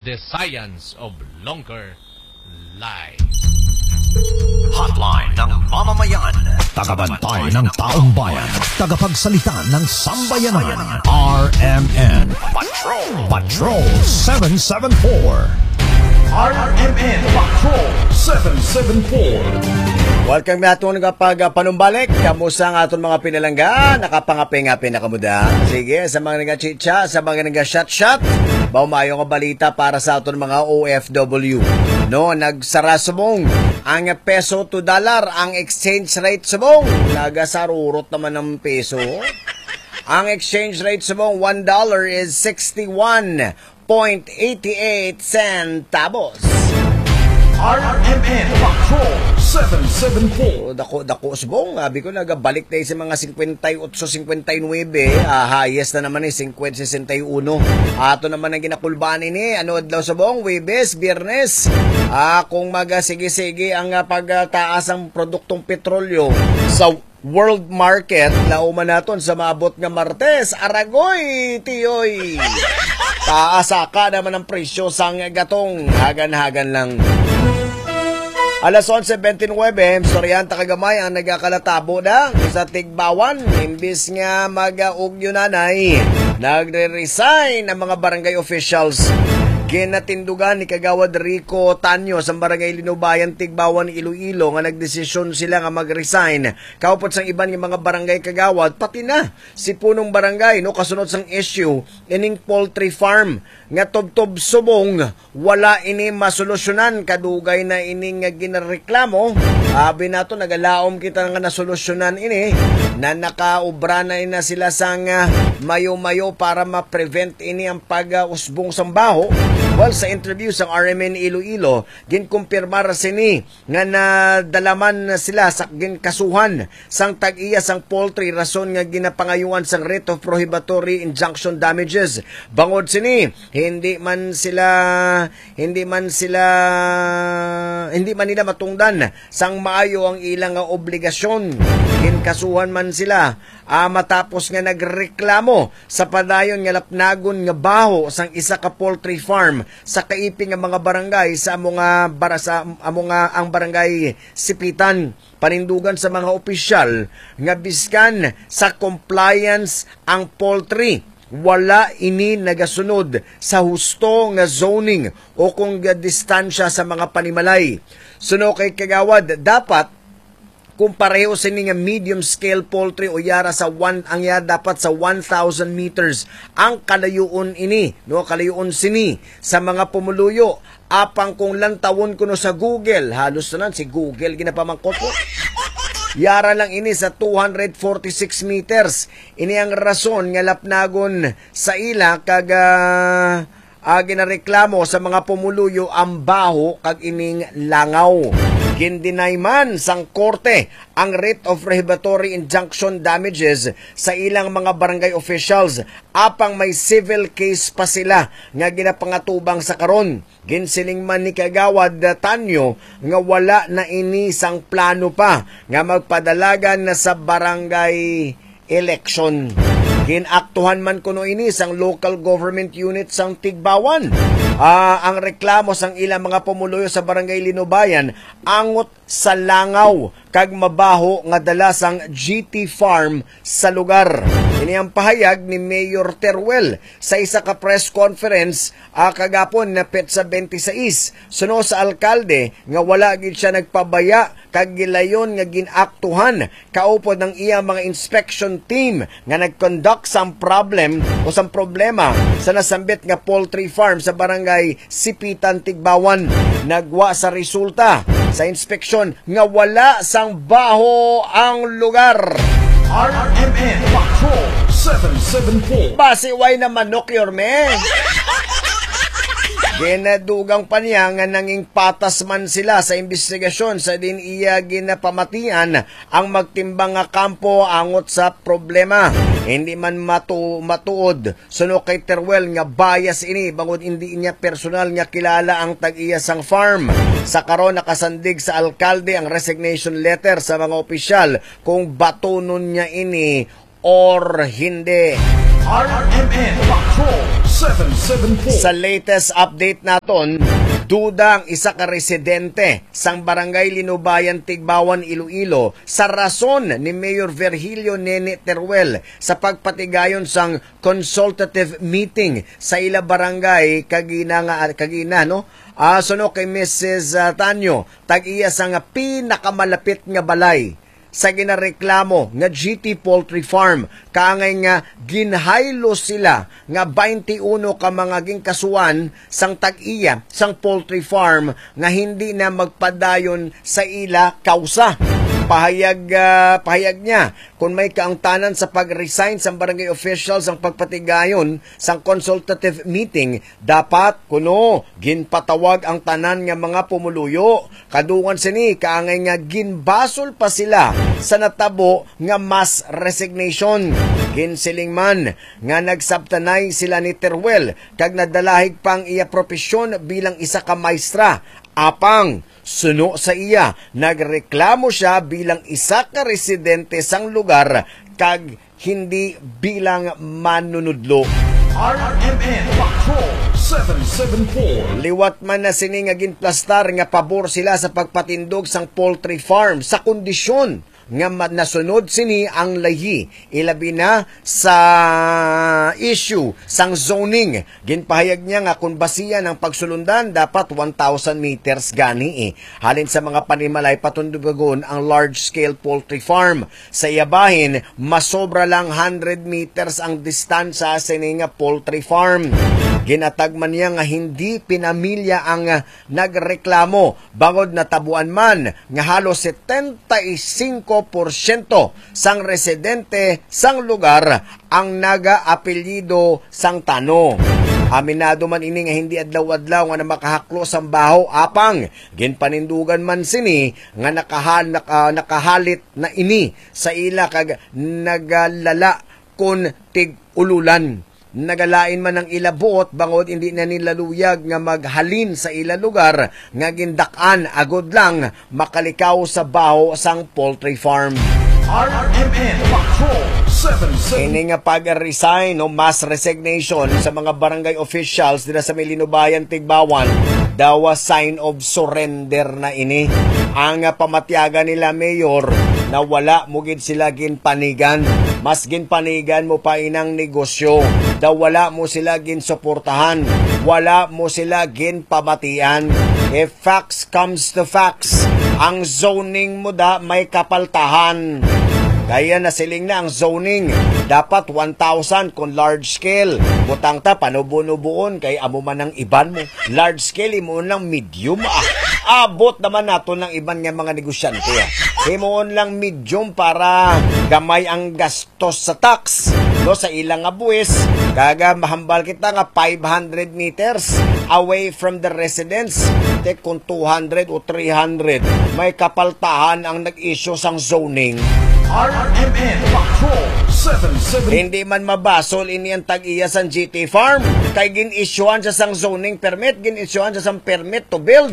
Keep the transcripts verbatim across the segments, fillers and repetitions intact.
The science of longer life. Hotline ng mamamayan. Tagabantay ng taong bayan. Tagapagsalita ng sambayanan. R M N Patrol. Patrol seven seven four. R M N Patrol seven seven four. Welcome naton nga pagpanumbalik. Kamusta ang aton mga pinalangga? Nakapangaping-aping na kamuda? Sige, sa mga nagachitsa, sa mga nagashot-shot, ba, mayo nga balita para sa aton mga O F W. No, nagsara subong ang peso to dollar, ang exchange rate subong. Nagasarurot naman ang peso. Ang exchange rate subong, one dollar is sixty-one point eighty-eight centavos. R M N Patrol seven seven four. So, dako, dako subong. Abi ko, nagabalik na sa mga singkwenta y otso, singkwenta y nuebe. Ah, highest na naman eh, singkwenta, sesenta y uno. Ato naman ang ginakulbaan ini. Ano adlaw subong? Webes, Biyernes. Ah, kung magasige-sige ang ah, pagtaas ang produktong petrolyo sa world market, lauman naton sa maabot nga Martes. Aragoy, tiyoy! Taasa ka naman ang presyo sang gatong. Hagan-hagan lang. Alas onse bentynwebe, istoryahan ta kagamay ang nagakalatabo na sa Tigbawan. Imbis nga mag-ugyo nanay, nagre-resign ang mga barangay officials. Ginatindugan ni Kagawad Rico Tanyo sa Barangay Linubayan, Tigbawan, Iloilo, nga nagdesisyon sila nga mag-resign. Kaupod sang iban nga mga barangay kagawad, pati na si punong barangay, no, kasunod sang issue ining poultry farm nga tubtob subong wala ini masolusyonan. Kadugay na ini nga ginareklamo. Abi nato, nagalaom kita nga nasolusyonan ini, na nakaobra na ina sila sang ah, mayo-mayo para ma-prevent ini ang pag-usbong sang baho. Well, sa interview sang R M N Iloilo, ginkumpirmar sini nga nadalaman na sila sa ginkasuhan sang tag-iya sang poultry, rason nga ginapangayuan sang writ of prohibitory injunction damages. Bangod sini, hindi man sila, hindi man sila, hindi man nila matungdan sang maayo ang ilang obligasyon. Ginkasuhan man sila, ah, matapos nga nagreklamo sa padayon nga lapnagon nga baho sang isa ka poultry farm sa kaipi nga mga barangay sa amo nga bara-, sa amo nga ang barangay Sipitan. Panindugan sa mga opisyal nga biskan sa compliance ang poultry, wala ini nagasunod sa husto nga zoning o kung distansya sa mga panimalay. Suno kay Kagawad, dapat kung pareho sini nga medium scale poultry o yara sa one, ang yara dapat sa one thousand meters ang kalayoon ini, no, kalayoon sini sa mga pumuluyo. Apang kung lantawon kuno sa Google, halos tanan si Google ginapamangkot ko. Yara lang ini sa two hundred forty-six meters. Ini ang rason nga lapnagon sa ila kag ah, ah, ginareklamo sa mga pumuluyo ang baho kag ining langaw. Gin-deny man sang korte ang writ of prohibitory injunction damages sa ilang mga barangay officials, apang may civil case pa sila nga ginapangatubang sa karon. Ginsiling man ni Kagawad Tanyo nga wala na ini sang plano pa nga magpadalagan na sa barangay election. Ginaktuhan man kuno ini sang local government unit sang Tigbawan. Ah, ang reklamo sang ilang mga pumuluyo sa Barangay Linubayan angot sa langaw kag mabaho nga dala sang G T Farm sa lugar. Ini ang pahayag ni Mayor Teruel sa isa ka press conference, ah, kagapon na petsa twenty-six. Suno sa alkalde nga wala gid siya nagpabaya kag gilayon nga gin-aktuhan kaupod ang iya mga inspection team nga nag-conduct sang problem o sang problema sa nasambit nga poultry farm sa barangay Sipitan, Tigbawan. Nagwa sa resulta sa inspeksyon nga wala sang baho ang lugar. R M N Patrol seven seven four. Basi way na manok, Yorme. Ginadugang pa niya nga nanging patas man sila sa imbestigasyon sa diin iya ginapamatian ang magtimbang nga kampo angot sa problema. Hindi man matu-, matuod, suno kay Teruel, nga bias ini bangod hindi niya personal nga kilala ang tag-iya sang farm. Sa karon, nakasandig sa alkalde ang resignation letter sa mga opisyal kung batunon niya ini or hindi. R M N Patrol Seven seven four. Sa latest update naton, duda ang isa ka residente sang Barangay Linubayan, Tigbawan, Iloilo, sa rason ni Mayor Virgilio Nene Teruel sa pagpatigayon sang consultative meeting sa ila barangay kagina nga, kagina, no? Ah, suno kay Missus, ah, Tanyo, tag-iya sang pinakamalapi nga balay sa ginareklamo nga G T Poultry Farm, kaangay nga ginhaylo sila nga twenty-uno ka mga ginkasuhan sang tag-iya sang poultry farm nga hindi na magpadayon sa ila kausa. Pahayag, ah, pahayag niya, kon may kaangtanan sa pag-resign sang barangay official sang pagpatigayon sang consultative meeting, dapat kuno ginpatawag ang tanan nga mga pumuluyo. Kadungan sini, kaangay nga ginbasol pa sila sa natabo nga mass resignation. Ginsiling man nga nagsabtanay sila ni Teruel kag nadalahig pa ang iya propesyon bilang isa ka maestra. Apang, suno sa iya, nagreklamo siya bilang isa ka residente sang lugar kag hindi bilang manunudlo. R M N Patrol seven seven four. Liwat man na sini nga ginplastar nga pabor sila sa pagpatindog sang poultry farm sa kondisyon nga ma-, nasunod sini ang layi, ilabi na sa issue sang zoning. Ginpahayag niya nga kung basihan ang pagsulundan, dapat one thousand meters gani, eh, halin sa mga panimalay patundugon ang large-scale poultry farm. Sa iya bahin, masobra lang hundred meters ang distansya sini nga poultry farm. Ginatag man niya nga hindi pinamilya ang, ah, nagreklamo, bangod natabuan man nga halos setenta y cinco porsyento sang residente sang lugar ang nagaapelyido sang Tano. Aminado man ini nga hindi adlaw-adlaw nga na makahaklo sang baho, apang ginpanindugan man sini nga nakahal-, naka-, nakahalit na ini sa ila kag nagalala kon tig-ululan. Nagalain man ang ila buot bangod hindi na nila luyag nga maghalin sa ila lugar nga gindak-an agod lang makalikaw sa baho sang poultry farm. R M N Patrol seven seven. Ini nga pag-resign o mass resignation sa mga barangay officials dira sa may Linubayan, Tigbawan, daw a sign of surrender na ini. Ang, ah, pamatyagan nila, Mayor, na wala mo gid sila ginpanigan. Mas ginpanigan mo pa inang negosyo. Daw wala mo sila ginsuportahan. Wala mo sila ginpamatian. If facts comes to facts, ang zoning mo da may kapaltahan. Kaya nasiling na ang zoning, dapat one thousand kung large scale. Butang ta, panubo-nubuon, kay amo man ang iban mo. Large scale, himuon lang medium. Ah, abot naman nato ng iban nga mga negosyante, ah. Himuon lang medium para gamay ang gastos sa tax, no, sa ilang nga buwis. Kaga mahambal kita nga five hundred meters away from the residence. Te, kung two hundred o three hundred, may kapaltahan ang nag-issue sang zoning. R M N Patrol seven seven. Hindi man mabasol ini ang tag-iya sang G T Farm, kay gin-issuehan siya sang zoning permit, gin-issuehan siya sang permit to build.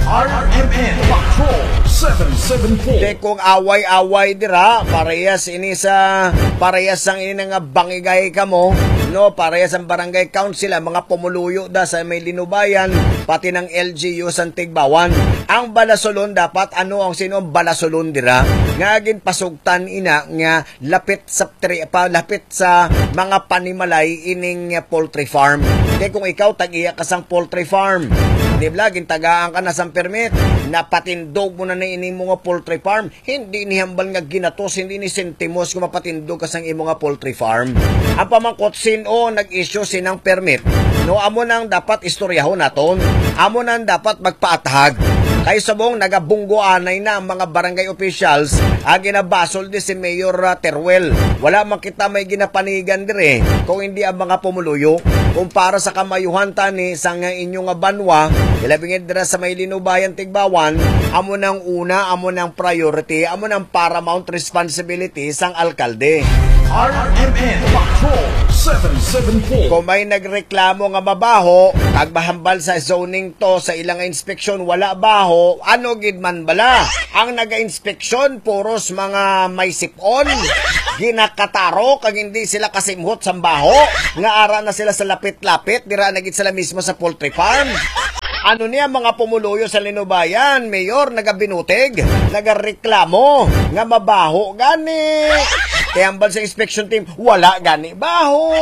R M N Patrol seven seven four. Te, kung away-away dira, parehas ini sa, parehas sang ini nga bangigay kamo, no, parehas ang barangay council, ang mga pumuluyo da sa may Linubayan, pati ng L G U sang Tigbawan. Ang balasulon dapat, ano ang, sino ang balasulon dira? Nga ginpasugtan ina nga lapit sa tri-, pa, lapit sa mga panimalay ining, uh, poultry farm. Kay kung ikaw tag-iya ka sang poultry farm, di ba, gintagaan ka na sang permit, napatindog mo na ni ining mga poultry farm, hindi ni hambal nga ginatos, hindi ni sentimos kung mapatindog ka sang imo nga poultry farm. Ang pamangkot, sin-o nag-issue sinang permit? No, amo nang dapat istoryahon naton. Amo nang dapat magpaathag. Kay subong nagabunggo anay na ang mga barangay officials, ang ginabasol di si Mayor, ah, Teruel. Wala man kita may ginapanigan dire kung hindi ang mga pumuluyo. Kung para sa kamayuhan tani sang inyo nga banwa, ilabingit dira sa may Linubayan, Tigbawan, amo nang una, amo nang priority, amo nang paramount responsibility sang alkalde. R M N Patrol seven seven four. Kung may nagreklamo nga mabaho, kag mahambal sa zoning to, sa ilang inspeksyon, wala baho, ano gid man bala? Ang naga-inspeksyon, puros mga may sip-on, ginakataro, kag hindi sila kasimhot sa baho, nga ara na sila sa lapit-lapit, dira na gid sila mismo sa poultry farm. Ano niya, mga pumuluyo sa Linubayan, Mayor, nagabinutig, nagareklamo nga mabaho gani. Kay hambal sa inspection team, wala gani baho.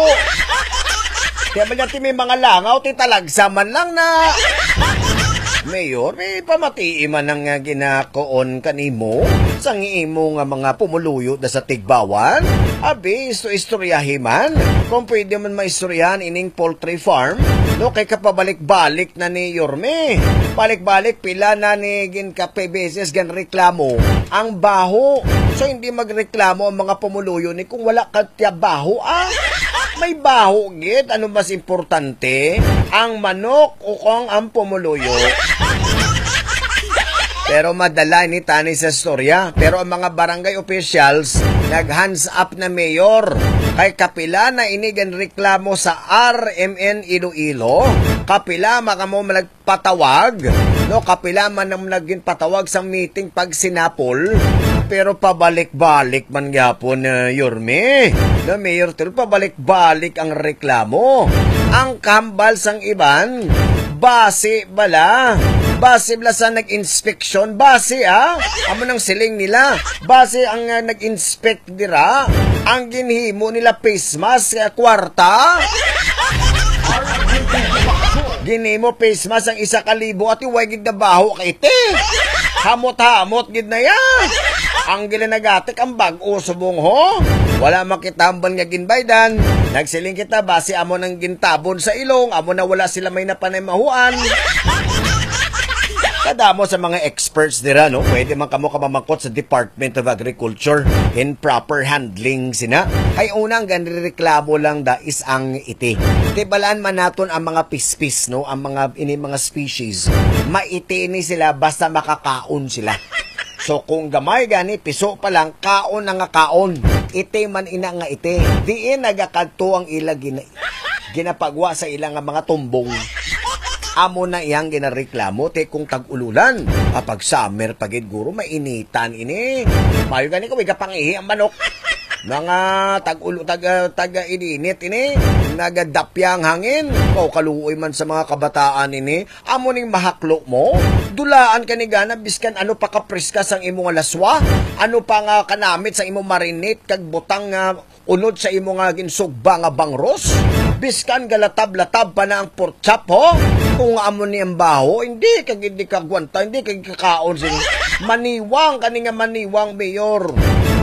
Kaya ba natin may mga langaw, ti talagsa man lang na. Mayor, may pamatii man ang, ah, ginakuon kanimo sang imo nga mga pumuluyo na sa Tigbawan? Abi, isto-istoryahi man. Kung pwede man maistoryahan ining poultry farm, no, kay kapabalik-balik na ni Yorme. Balik-balik, pila na ni gin kape beses gan reklamo ang baho. So, hindi magreklamo ang mga pumuluyo ni kung wala ka tiya baho, ah. May baho gid. Ano mas importante? Ang manok o kung ang pumuluyo? Pero madala ni tani sa storya. Pero ang mga barangay officials nag-hands up na, Mayor. Kay kapila na ini gan reklamo sa R M N Iloilo, kapila makamo nagpatawag, no, kapila man ang naging patawag sa meeting pag sinapol, pero pabalik-balik man gyapon, uh, Yorme, no, Mayor Tul, pabalik-balik ang reklamo. Ang kambal sang iban, basi bala, basi bala sa nag-inspeksyon, basi, ah, amo nang siling nila, basi ang, uh, nag-inspect dira, ang ginhimo nila face mask, eh, kwarta. Ginhimo face mask ang isa ka libo, ati, way gid nabaho kay iti. Hamot-hamot gid na ya. Ang gilinagatik ang bag-o subong, ho. Wala makitambal nga ginbaydan. Nagsiling kita, basi amo nang gintabon sa ilong, amo na wala sila may napanimahuan. Kadamo sa mga experts dira, no? Pwede man kamo kamamangkot sa Department of Agriculture in proper handling sina. Kay una, ang ginreklamo lang da is ang iti. Tibalaan man naton ang mga pispis, no? Ang mga, ini mga species. Maiti ni sila basta makakaon sila. So, kung gamay gani, piso pa lang, kaon na nga kaon. Iti man ina nga iti. Diin nagakadto ang ila gina-, ginapagwa sa ila nga mga tumbong. Amo na iyang ginareklamo, ti kung tag-ululan. Kapag summer pa gid, guro, mainitan ini. Mayo gani kung igapangihi ang manok. Mga tag-ulo, tag, ah, tag-ininit ini, nagadapya ang hangin. O, kaluoy man sa mga kabataan ini. Amo ning mahaklo mo. Dulaan ka ni gana, biskan ano pa kapriska sang imo nga laswa, ano pa nga kanamit sa imo marinate kag butang nga unod sa imo nga ginsugba nga bangros, biskan galatab-latab pa na ang pork chop, ho? Kung amo ni ang baho, hindi ka gid ni kagwanta, hindi ka gid kakaon sini. Maniwang kani nga maniwang, Mayor.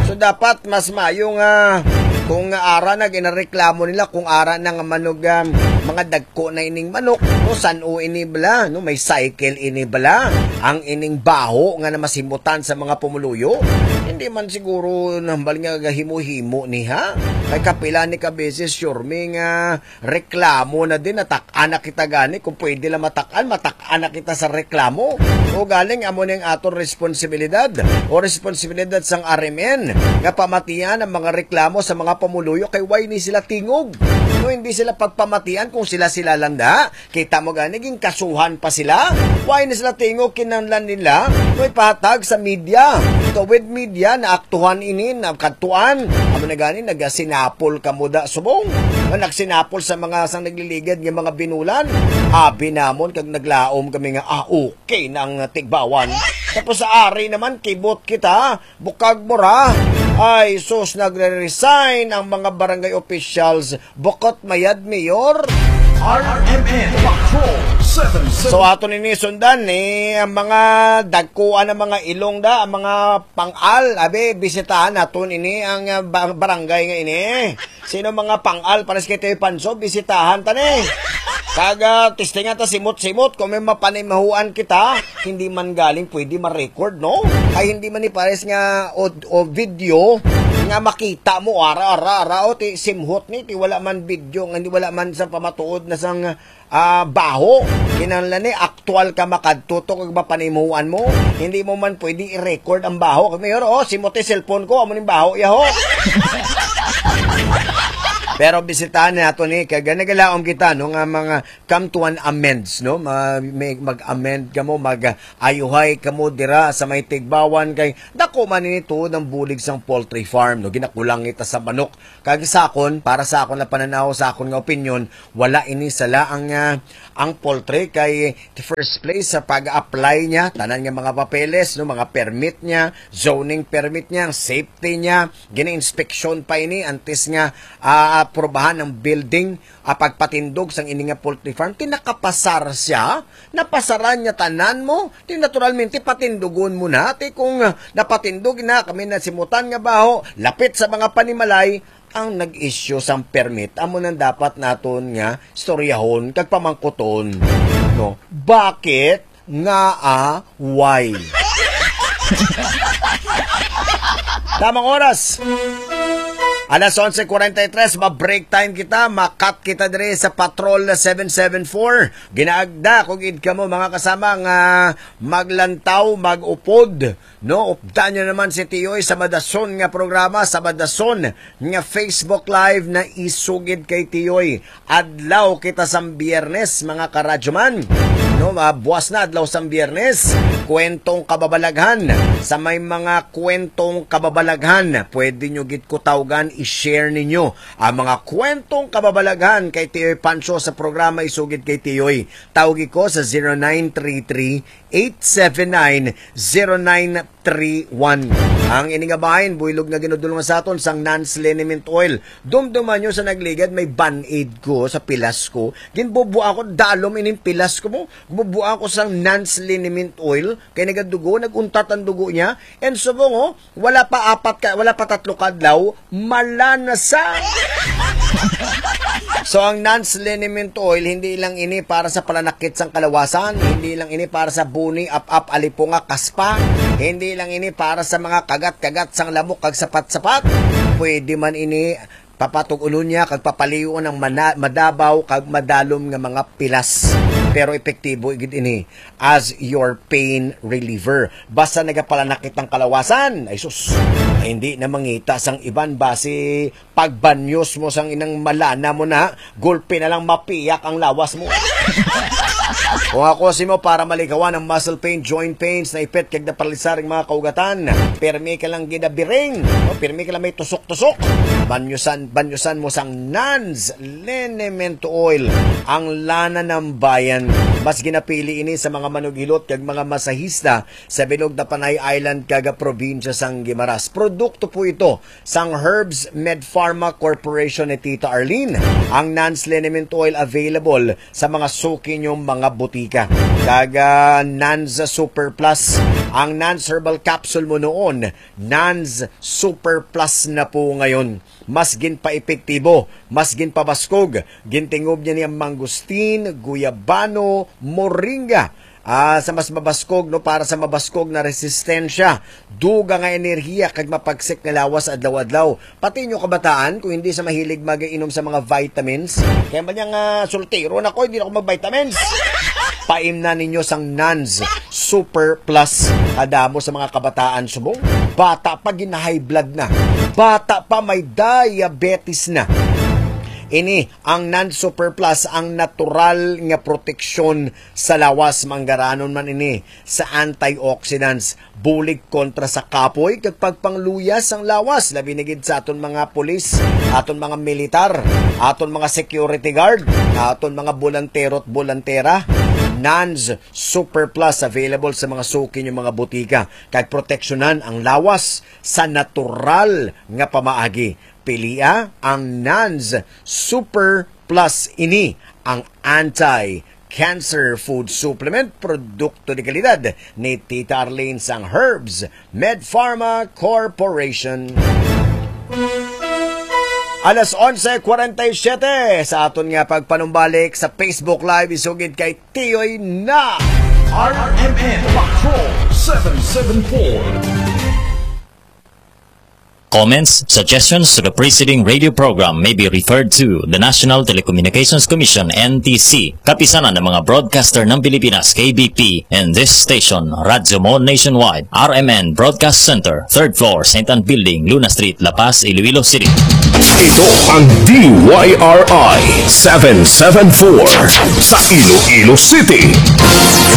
So, dapat mas mayo nga kung nga ara na ginareklamo nila, kung ara na nga manog, um, mga dagko na ining manok, no, san-o ini bala, no, may cycle ini bala, ang ining baho nga namasimutan sa mga pumuluyo. Hindi man siguro nambal nga gahimo-himo ni, ha? Kay kapila ni ka beses, sure mi nga reklamo na din, natak-an na kita gani. Kung pwede lang matak-an, matak-an na kita sa reklamo. O galing, amo ning aton responsibilidad o responsibilidad sang R M N nga pamatian ang mga reklamo sa mga pumuluyo kay way ni sila tingog. No, hindi sila pagpamatian kung sila-sila lang da. Kita mo gani, ginkasuhan pa sila. Way ni sila tingog, kinahanglan nila no ipahatag sa media. Tuwid media, naaktuhan ini, nakadtuan. Amo na gani, nagasinapol kamo da subong. Nga nagsinapol sa mga sang nagliligad nga mga binulan. Abi namon kag naglaom kami nga, ah, okay na ang Tigbawan. Tapos sa ari naman, kibot kita, bukag mura. Ay, sus, nagre-resign ang mga barangay officials. Bukot mayad, Mayor. R M N Patrol seven seven. So, ato nini sundan ni ang mga dagkuan, ang mga ilong da, ang mga pangal. Abi, bisitahan naton ini ang, ah, ba-, barangay nga ini. Sino mga pangal, pares kay Teo Panso, bisitahan ta ni. Kag, ah, testingan ta simot-simot kung may mapanimahuan kita, hindi man galing pwede ma-record, no? Ay hindi man ni pares nga o, o video nga makita mo, ara, ara, ara, o ti simhot ni, ti wala man video, nga hindi wala man sa pamatuod na sang, ah, baho. Kinahanglan ni aktual ka makadto to kag mapanimuan mo. Hindi mo man pwede i-record ang baho. Kag, Mayor, oh, simot ti cellphone ko, amo ning baho, yaho. Pero bisitahan nato ni, kag nagalaom kita, no, nga mga come to an amends, no? Ma-, may, mag-amend kamo, mag-ayuhay kamo dira sa may tigbawan, kay dako man ini tuod ang bulig sang poultry farm, no? Ginakulang kita sa manok. Kag sa akon, para sa akon na pananaw, sa akon nga opinyon, wala ini sala ang, ah, ang poultry kay the first place sa pag-apply niya, tanan nga mga papeles, no, mga permit niya, zoning permit niya, ang safety niya, gina-inspeksyon pa ini antes nga, ah, aprobahan ang building, ah, pagpatindog sang ini nga poultry farm. Ti nakapasar siya, napasaran niya tanan mo, ti naturalmente patindugon mo na. Ti kung, ah, napatindog na, kami na simutan nga baho, lapit sa mga panimalay, ang nag-issue sang permit, amo nang dapat naton nga istoryahon kag pamangkuton, no? Bakit nga, ah, why? Tamang oras. Alas onse kuwarenta y tres, ma-break time kita, makat kita diri sa Patrol seven seven four. Ginaagda ko gid kamo, mga kasama, nga maglantaw, mag-upod, no? Updan nyo naman si Tiyoy sa madason nga programa, sa madason nga Facebook Live na isugid kay Tiyoy. Adlaw kita sang Biyernes, mga karadyoman. No, ah, buwas na adlaw sang Biyernes. Kwentong kababalaghan. Sa may mga kwentong kababalaghan, pwede nyo gid ko tawgan, i-share ninyo ang mga kwentong kababalaghan kay Tiyoy Pancho sa programa Isugid kay Tiyoy. Tawgi ko sa zero nine three three eight seven nine, zero nine three one. Ang ini nga bahin, buylog nga ginudulungan sa aton sang Nans Liniment Oil. Dumduman nyo sa nagligad, may band-aid ko sa pilas ko. Ginbubua ko, dalom ining pilas ko mo. Bubua ko sang Nans Liniment Oil, kay nagadugo, nag-untat ang dugo niya. And subong, oh, wala pa apat ka, wala pa tatlo ka adlaw, mala na sa. So, ang Nans Liniment Oil, hindi lang ini para sa palanakit sang kalawasan, hindi lang ini para sa buni, ap-ap, alipunga, kaspa, hindi lang ini para sa mga kagat-kagat sang lamok kag sapat-sapat. Pwede man ini papatug-unon niya kag papaliyon ang mana-, madabaw kag madalom nga mga pilas. Pero epektibo gid ini as your pain reliever. Basta nagapalanakit ang kalawasan, ay sus, hindi na mangita sang iban, basi pagbanyos mo sang inang malana mo na, gulpi na lang mapiyak ang lawas mo. Kung ako si mo, para malikawan ang muscle pain, joint pains, naipit kag naparalisar ang mga kaugatan, pirmi ka lang ginabiring, no? Pirmi ka lang may tusok-tusok. Banyusan, banyusan mo sang Nans Liniment Oil, ang lana ng bayan. Mas ginapili ini sa mga manughilot kag mga masahista sa bilog na Panay Island kag probinsya sang Guimaras. Produkto po ito sang Herbs Med Pharma Corporation ni Tita Arlene. Ang Nans Liniment Oil available sa mga suki niyong mga butika. Kag, ah, Nans Super Plus. Ang Nans Herbal Capsule mo noon, Nans Super Plus na po ngayon. Mas ginpaepektibo, mas ginpabaskog, gintingob niya ni ang mangustin, guyabano, moringa. Ah, sa mas mabaskog, no, para sa mabaskog na resistensya, duga nga enerhiya kag mapagsik nga lawas adlaw-adlaw. Pati inyo kabataan, kung hindi sa mahilig mag-inom sa mga vitamins, kaya ba niya nga, "Soltero na ko, hindi na ako mag-vitamins." Paimna ninyo sang Nans Super Plus. Kadamo sa mga kabataan subong, bata pa, gina-high blood na. Bata pa, may diabetes na. Ini ang Nans Super Plus, ang natural nga proteksyon sa lawas. Manggaranon man ini sa antioxidants, bulig kontra sa kapoy kag pagpangluya sang lawas, labi na gid sa aton mga pulis, aton mga militar, aton mga security guard, aton mga bolantero at bolantera. Nans Super Plus available sa mga suki niyo, mga butika, kag proteksyonan ang lawas sa natural nga pamaagi. Pilia ang Nans Super Plus. Ini ang anti-cancer food supplement, produkto de kalidad ni Tita Arlene sang Herbs Med Pharma Corporation. Alas onse kwarenta y siete sa aton nga pagpanumbalik sa Facebook Live, isugid kay Tiyoy na. R M N Patrol seven seven four. Comments, suggestions to the preceding radio program may be referred to the National Telecommunications Commission, N T C, Kapisanan ng mga Broadcaster ng Pilipinas, K B P, and this station, Radyo Mo Nationwide, R M N Broadcast Center, third floor, Saint Ann Building, Luna Street, La Paz, Iloilo City. Ito ang D Y R I seven seven four sa Iloilo City.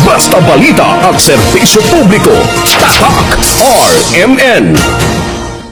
Basta balita at serbisyo publiko, tatak R M N.